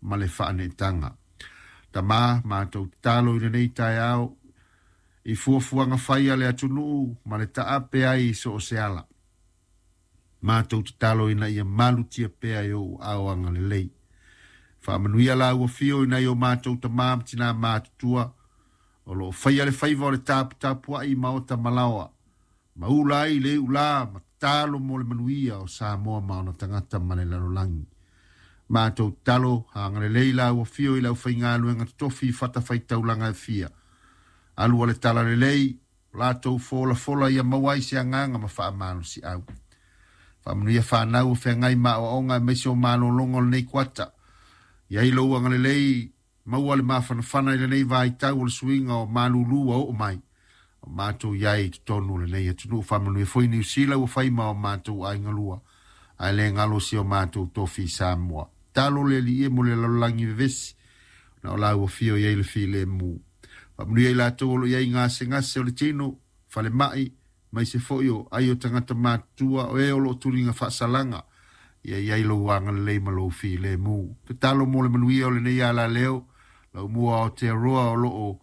ma le faaneetaga. Tamā, matou tatalo i lenei taeao i fuafuaga fai a le atunuu ma le taape ai i so o se ala. Matou tatalo ina ia malutia pea i ou aao agalelei. Faamanuia lau afio i nai o matou tamā ma tinā matutua o lo o faia le faiva o le taputapuai i maota ma laoa, ma ula ai le iulā ma tatalo mo le manuia o Samoa ma ona tagata ma le lalolagi. Matou tatalo, agalelei lau afio i le aufaigaluega totofi i fatafaitaulaga e fia. Alu a le talalelei, o latou folafola ia maua ai se agaga ma faamalosiau. Faamanuia fanau o feagai ma aoaoga aemaise o malologa o lenei kuata. I ai lou agalelei, maua le mafanafana i lenei vaitau o le suiga o malulu ua oo mai. O matou i ai i totonu o lenei atunuu. Faamanuia foi Niu Sila ua fai ma o matou aiga lua, ae le galo si o matou tofi i Samoa. Talo le Alii e mo le lalolagi vevesi, na o lau afio i ai le filemu. Faamanuia i latou o lo o i ai gasegase o le tino, falemai, maise foi o ai o tagata matutua, o e o lo o tuliga faasalaga, ia i ai lou agalelei ma lou filemu. Tatalo mo le manuia o lenei alaleo, lau mua o Aotearoa o lo o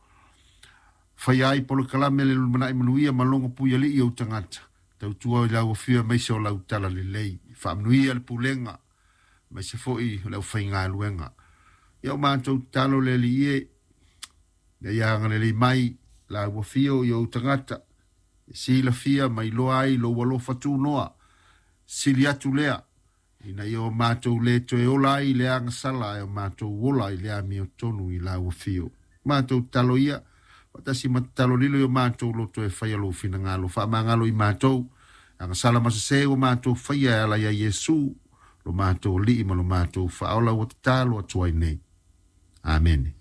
faia ai polokalame le lumanai manuia ma logo puialii ou tagata. Tautua i lau afio aemaise o lau talalelei. Faamanuia le pulega, aemaise foi o le aufaigaluega. Ia o matou tatalo le Alii e, ina ia agalelei mai lau afio i ou tagata, e silafia ma iloa ai lou alofa tunoa, sili atu lea, ina ia o matou le toe ola ai i le agasala, ae o matou ola i le amiotonu i lau afio. Matou tatalo ia, faatasi ma tatalo lilo i o matou loto e faia lou finagalo, faamagalo i matou, agasala ma sesē ua matou faia e ala ia Iesu, lo matou Alii ma lo matou Faaola ua tatalo atu ai nei. Amene.